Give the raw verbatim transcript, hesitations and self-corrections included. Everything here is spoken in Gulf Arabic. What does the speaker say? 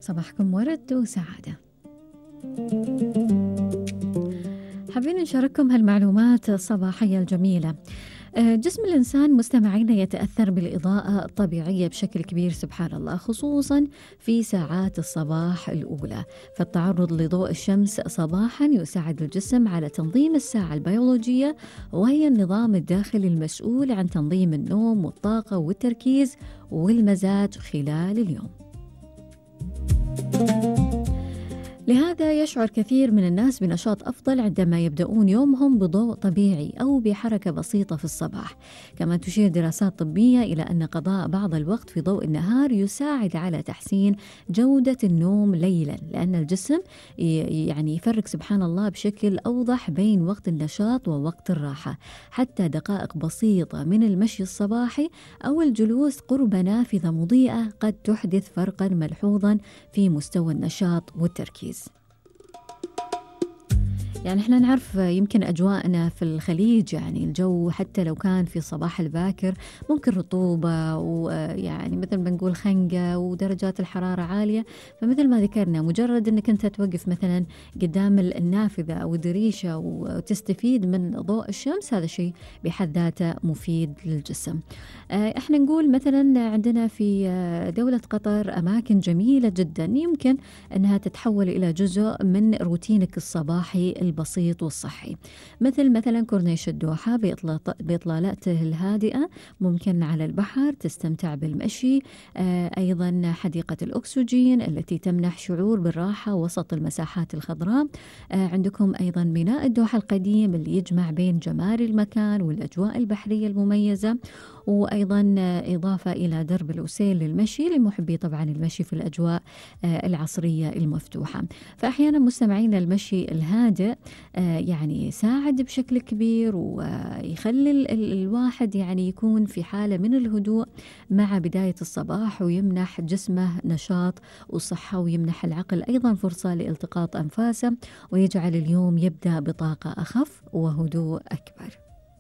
صباحكم ورد وسعادة. حابين نشارككم هالمعلومات الصباحية الجميلة. جسم الإنسان مستمعين يتأثر بالإضاءة الطبيعية بشكل كبير سبحان الله، خصوصا في ساعات الصباح الأولى. فالتعرض لضوء الشمس صباحا يساعد الجسم على تنظيم الساعة البيولوجية، وهي النظام الداخلي المسؤول عن تنظيم النوم والطاقة والتركيز والمزاج خلال اليوم. لهذا يشعر كثير من الناس بنشاط أفضل عندما يبدأون يومهم بضوء طبيعي أو بحركة بسيطة في الصباح. كما تشير دراسات طبية إلى أن قضاء بعض الوقت في ضوء النهار يساعد على تحسين جودة النوم ليلا، لأن الجسم يعني يفرق سبحان الله بشكل أوضح بين وقت النشاط ووقت الراحة. حتى دقائق بسيطة من المشي الصباحي أو الجلوس قرب نافذة مضيئة قد تحدث فرقا ملحوظا في مستوى النشاط والتركيز. يعني احنا نعرف يمكن أجواءنا في الخليج، يعني الجو حتى لو كان في الصباح الباكر ممكن رطوبة ويعني مثل ما نقول خنقة ودرجات الحرارة عالية. فمثل ما ذكرنا مجرد أنك أنت توقف مثلا قدام النافذة أو الدريشة وتستفيد من ضوء الشمس، هذا شيء بحد ذاته مفيد للجسم. احنا نقول مثلا عندنا في دولة قطر أماكن جميلة جدا يمكن أنها تتحول إلى جزء من روتينك الصباحي البسيط والصحي، مثل مثلا كورنيش الدوحة بإطلالته الهادئة، ممكن على البحر تستمتع بالمشي. أيضا حديقة الأكسجين التي تمنح شعور بالراحة وسط المساحات الخضراء. عندكم أيضا ميناء الدوحة القديم اللي يجمع بين جمال المكان والأجواء البحرية المميزة، وأيضا إضافة إلى درب الأسيل للمشي لمحبي طبعا المشي في الأجواء العصرية المفتوحة. فأحيانا مستمعين المشي الهادئ يعني يساعد بشكل كبير ويخلي الواحد يعني يكون في حالة من الهدوء مع بداية الصباح، ويمنح جسمه نشاط وصحة، ويمنح العقل أيضا فرصة لالتقاط أنفاسه، ويجعل اليوم يبدأ بطاقة أخف وهدوء أكبر.